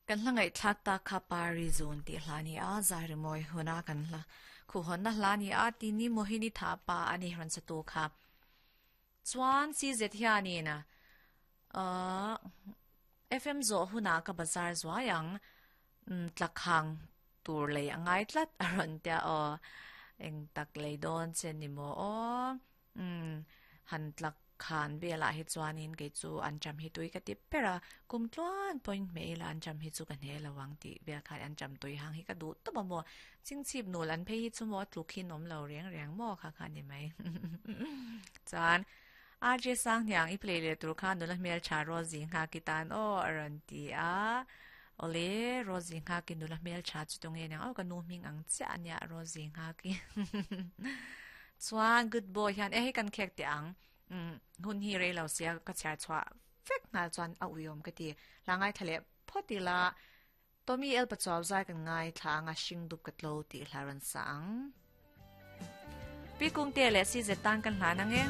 Kan hla ngaihthlak tak kha Pari Zun tih hla ni a, zai rimawi huna kan hla khuhhawnna hla ni a, tini Mohini tha pa a ni rawn satu kha. Chuan CZ hianin ahh FM zawh hunah ka bazar zuai ang, tlakhang tur lei a ngai tlat a rawn tia aw, eng tak lei dawn che ni maw aw, umm han tlak khan velah hi chuanin kei chu an cham hi tui ka ti ber a, kum tluan pawhin hmeh ila an cham hi chu ka hne lo ang tih vel khan an cham tui hang hi ka duh tawp a maw, chingchip nul an phei hi chu maw tluk hi an awm lo reng reng maw kha kha ni mai. Chuan RJ Sanghniang i play leh tur kha nula hmeltha Rosie Nghaki tan aw a rawn ti a, awle Rosie Nghaki nula hmeltha chu tunge niang aw ka nu hming ang chiah a nia Rosie Nghaki. Chuan good boy hian e hei kan khek teh ang umm hun hi rei lo sia ka chhiar chhuah vek nghal chuan a uiawm ka ti hla ngaithla leh phawt ila Tommy El Pachuau zai kan ngaithla anga hring dup ka tlo tih hla rawn sa ang. Pi Kungte leh CZ tan kan hlan ang e.